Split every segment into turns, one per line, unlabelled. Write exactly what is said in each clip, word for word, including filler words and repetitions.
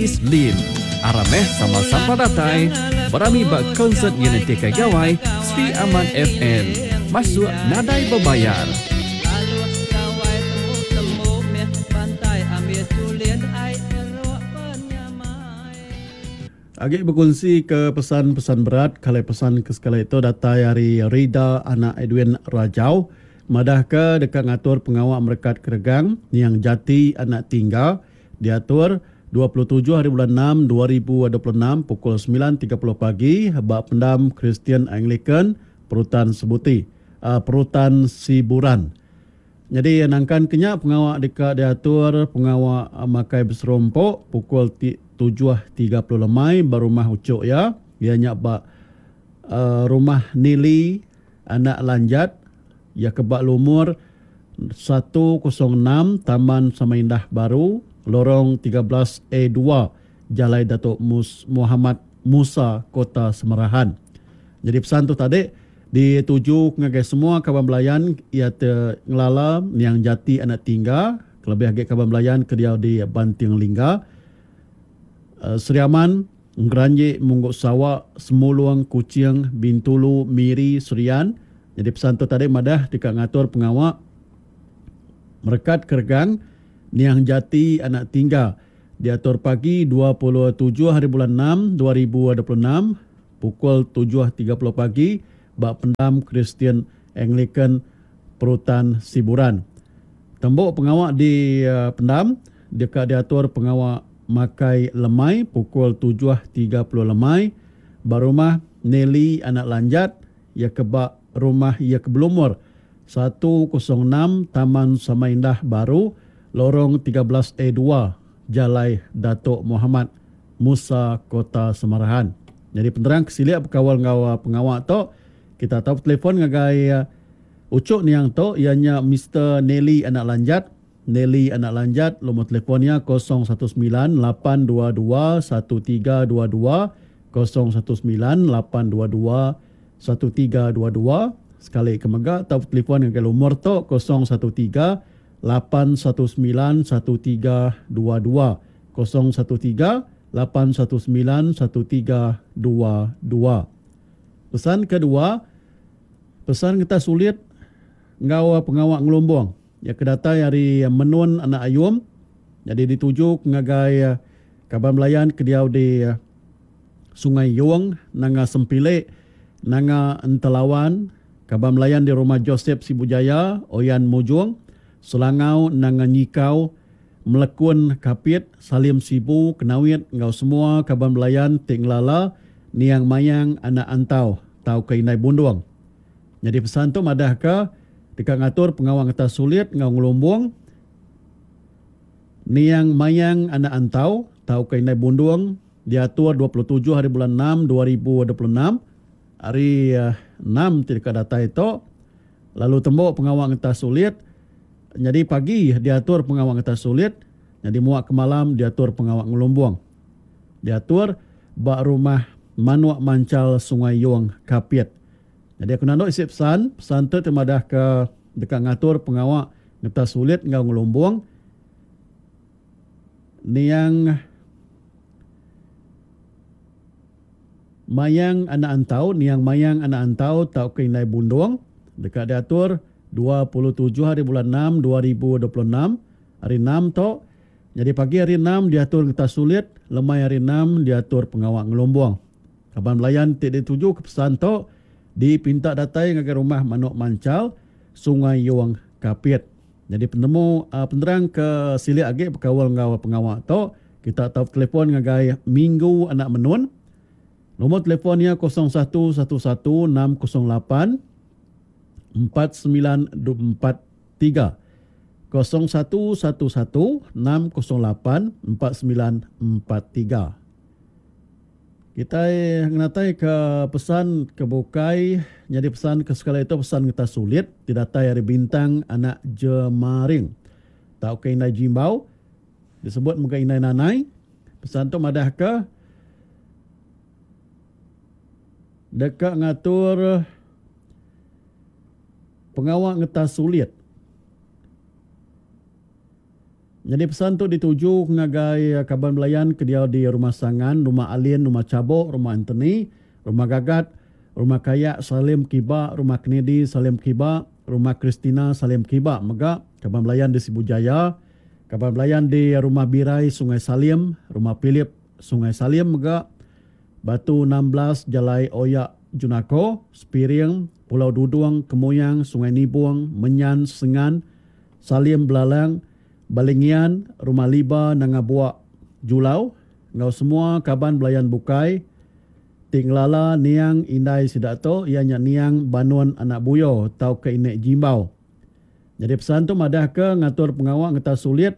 Alice Lim. Aram meh sama sampal datai berami ba konsert Nyenentika Gawai Sri Aman F M. Masuk nadai bebayar.
Agi berkongsi ke pesan-pesan berat, kalau pesan ke sekali itu datai hari Rida anak Edwin Rajau. Madah ke dekat ngatur pengawak merekat keregang yang jati anak tinggal diatur dua puluh tujuh hari bulan enam dua ribu dua puluh enam pukul sembilan tiga puluh pagi bak pendam Kristian Anglican Perutan Sebuti, uh, Perutan Siburan. Jadi nangkan kenya pengawak dekat diatur pengawak makai berserompok pukul tujuh tiga puluh lemai berumah ucuk ya. Ia nyak bak, uh, rumah Nili anak Lanjat ya kebak lumur satu kosong enam Taman Samaindah Baru Lorong tiga belas A dua Jalai Datuk Mus-, Muhammad Musa Kota Semerahan. Jadi pesan tu tadi dituju ngagai semua kawan belayan ia te ngelala yang jati anak tinggal kelebih agi kawan belayan ke dia di Banting Lingga, uh, Sri Aman, Ngeranjik, Mungguk Sawak, Semuluang, Kuching, Bintulu, Miri, Serian. Jadi pesan tu tadi madah dekat ngatur pengawak merekat keregang Niang Jati anak tinggal diatur pagi dua puluh tujuh hari bulan enam dua ribu dua puluh enam pukul tujuh tiga puluh pagi bak pendam Kristian Anglican Perutan Siburan. Tembok pengawak di, uh, pendam dekat diatur pengawak makai lemai pukul tujuh tiga puluh lemai barumah Nelly anak Lanjat ya kebak rumah ia kebelumur satu kosong enam Taman Samaindah Baru Lorong tiga belas A dua Jalai Datuk Muhammad Musa Kota Semarahan. Jadi penerang kesiliak berkawal ngau pengawak tu kita tahu telefon ngagai uh, ucuk niang tu ianya Mister Nelly anak Lanjat. Nelly anak Lanjat nombor telefonnya kosong satu sembilan lapan dua dua satu tiga dua dua kosong satu sembilan lapan dua dua satu tiga dua dua. Sekali kemega tahu telefon ngagai lumur tu kosong satu tiga lapan satu sembilan satu tiga dua dua kosong satu tiga lapan satu sembilan satu tiga dua dua. Pesan kedua, pesan kita sulit ngau pengawak ngelumbung. Ya kedatai hari Menun anak Ayum. Jadi dituju ngagai kaban belayan ke diau di Sungai Yong, Nanga Sempilek, Nanga Entelawan, kaban belayan di rumah Joseph Sibujaya, Oyan Mujung, Selangau, Nanga Nyikau, Melekun Kapit, Salim Sibu, Kenawit, ngau semua kaban belayan Tinglala, Niang Mayang, Anak Antau, Tau ke Inai Bundung. Jadi pesan tu madah ke dekat ngatur pengawang atas sulit ngau ngelumbung Niang Mayang Anak Antau, Tau ke Inai Bundung diatur dua puluh tujuh hari bulan enam dua ribu dua puluh enam hari, uh, enam tidak datai itu lalu tembok pengawang atas sulit. Jadi pagi diatur pengawang atas sulit, jadi muak ke malam diatur pengawang ngelumbung. Diatur bak rumah Manuak Mancal Sungai Yong Kapit. Jadi aku nanduk isi pesan, pesan tu temadah ke dekat ngatur pengawak ngetas sulit ngau ngelumbung. Niang Mayang Anak Antau, Niang Mayang Anak Antau tau ke Inai Bundung dekat diatur dua puluh tujuh hari bulan enam dua ribu dua puluh enam hari enam tu. Jadi pagi hari enam diatur ngetas sulit, lemai hari enam diatur pengawak ngelumbung. Kaban belayan ti dituju ke pesan tu dipinta datai ngagai rumah Manuk Mancal Sungai Yong Kapit. Jadi penemu, uh, penerang ke silik agi berkawal ngau pengawak tu kita tahu telefon ngagai Minggu Anak Menun. Nombor telefonnya kosong satu satu satu enam kosong lapan empat sembilan empat tiga. Kosong satu satu satu enam kosong lapan empat sembilan empat tiga. Kita ngenatai ke pesan ke bukai. Jadi pesan ke sekali itu pesan kita sulit. Didatai hari Bintang Anak Jemaring. Tau ke Inai Jimbau. Disebut muka Inai Nanai. Pesan tu madah ke dekat ngatur pengawak ngetas sulit. Jadi pesan tu dituju ngagai kaban belayan ke dia di Rumah Sangan, Rumah Alin, Rumah Cabok, Rumah Anthony, Rumah Gagat, Rumah Kayak Salim Kiba, Rumah Kennedy Salim Kiba, Rumah Christina Salim Kiba. Mega kaban belayan di Sibu Jaya, kaban belayan di Rumah Birai Sungai Salim, Rumah Philip Sungai Salim mega, Batu enam belas Jalai Oyak Junako, Spiring, Pulau Dudung, Kemuyang, Sungai Nibung, Menyan, Sengan, Salim Belalang, Balingian, Rumah Liba, Nangabuak, Julau, ngau semua kaban belayan bukai tinglala niang indai sidak tu ianya niang Banun anak Buyo tau ke inek Jimbau. Jadi pesan tu madah ke ngatur pengawak ngeta sulit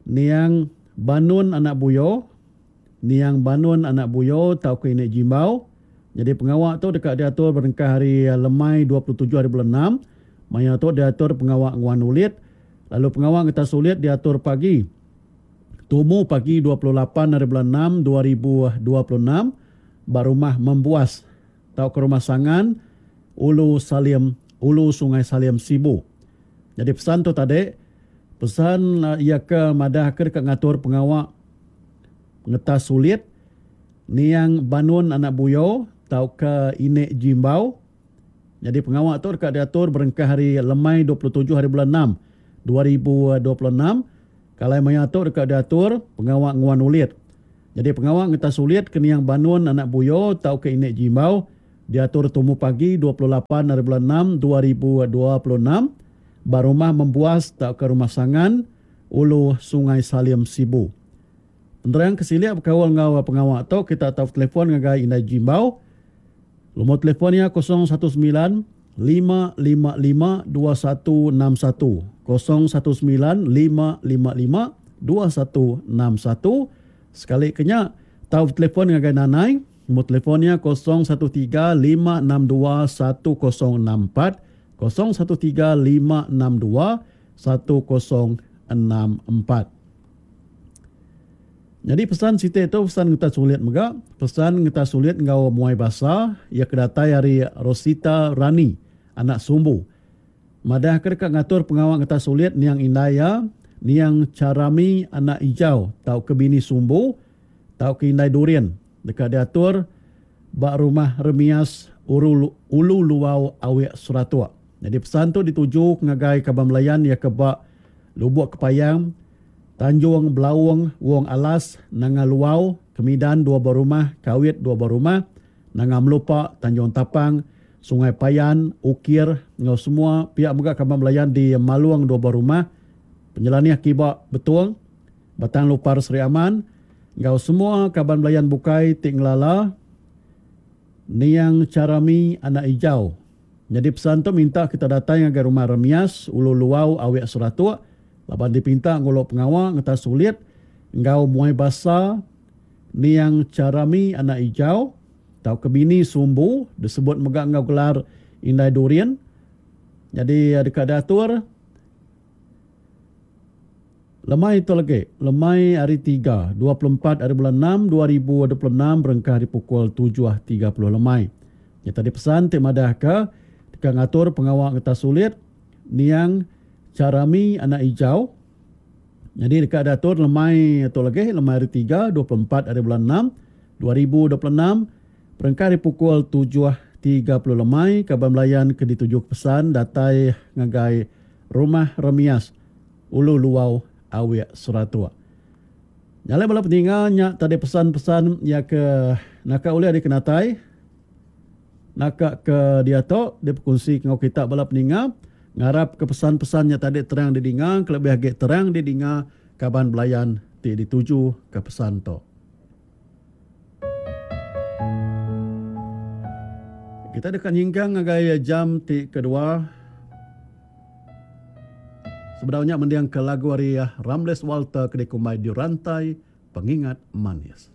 niang Banun anak Buyo, niang Banun anak Buyo tau ke inek Jimbau. Jadi pengawak tu dekat diatur berengkah hari lemai dua puluh tujuh hari bulan enam. Maya tu diatur pengawak nguan ulit. Lalu pengawak ngeta sulit diatur pagi. Tumu pagi dua puluh lapan hari bulan enam dua ribu dua puluh enam. Ba rumah Membuas tau ke rumah Sangan Ulu Salim, Ulu Sungai Salim Sibu. Jadi pesan tu tadi, pesan uh, ia ke madah ke dekat ngatur pengawak ngetas sulit niang Banun anak Buyo tau ke inek Jimbau. Jadi pengawak tu dekat diatur berengkah hari lemai dua puluh tujuh hari bulan enam dua ribu dua puluh enam. Kalau maya tu dekat diatur pengawak nguan ulit. Jadi pengawak ngetas sulit ke niang Banun anak Buyo tau ke inek Jimbau diatur tumu pagi dua puluh lapan hari bulan enam dua ribu dua puluh enam ba rumah Membuas tau ke rumah Sangan Ulu Sungai Salim Sibu. Penerang kesiliak berkawal ngau pengawak tu kita tahu telefon ngagai Indai Jimbau. Nombor telefonnya kosong satu sembilan lima lima lima dua satu enam satu. Kosong satu sembilan lima lima lima dua satu enam satu. Sekali kenya tahu telefon ngagai Nanai, nombor telefonnya kosong satu tiga lima enam dua satu kosong enam empat. Kosong satu tiga lima enam dua satu kosong enam empat. Jadi pesan siti itu pesan kita sulit mega, pesan kita sulit ngau muai basa ia kedatai hari Rosita Rani anak Sumbu. Madah ke dekat ngatur pengawak kita sulit niang Indaya, niang Carami anak Ijau tau ke bini Sumbu, tau ke Indai Durian. Dekat diatur bak rumah Remias Uru, Ulu Luau Awek Suratua. Jadi pesan tu dituju ngagai Kaban Melayan ia ke bak Lubuk Kepayang, Tanjung Belawang, Wong Alas, Nanga Luau, Kemidan dua buah rumah, Kawit dua buah rumah, Nanga Melupak, Tanjung Tapang, Sungai Payan, Ukir, ngau semua pihak mega Kaban Melayan di Maluang dua buah rumah, Penyelaniah Kibak Betuang, Batang Lupar Seri Aman, ngau semua Kaban Melayan Bukai Tinglala, Niang Carami anak Ijau. Jadi pesan tu minta kita datang ke rumah Remias, Ulu Luau, Awek Seratuk, laban dipinta ngulok pengawak ngeta sulit ngau muai basa niang Carami anak Ijau tau ke bini Sumbu disebut mega ngau gelar Indai Durian. Jadi dekat diatur lemai itu lagi, lemai hari tiga, dua puluh empat hari bulan enam dua ribu dua puluh enam berengkah di pukul tujuh tiga puluh lemai. Ya tadi pesan ti madah ke dekat ngatur pengawak ngeta sulit niang Carami anak Ijau. Jadi dekat datur lemai atau lagi lemai hari tiga, dua puluh empat hari bulan enam dua ribu dua puluh enam berengkah di pukul tujuh tiga puluh lemai Kaban Melayan ke dituju pesan datai ngagai rumah Remias Ulu Luau Awek Seratua. Nyalai bala peninga nyak tadi pesan-pesan ya ke naka oleh adik kenatai naka ke dia tok dia berkongsi ngau kita bala peninga. Ngarap ke pesan-pesannya tadi terang didinga, kelebih lagi terang didinga kaban belayan ti dituju ke pesan tu. Kita dekat nyingkang ngagai jam ti kedua. Sebenarnya mendiang ke lagu hari Ramles Walter ke dikumbai di rantai pengingat manis.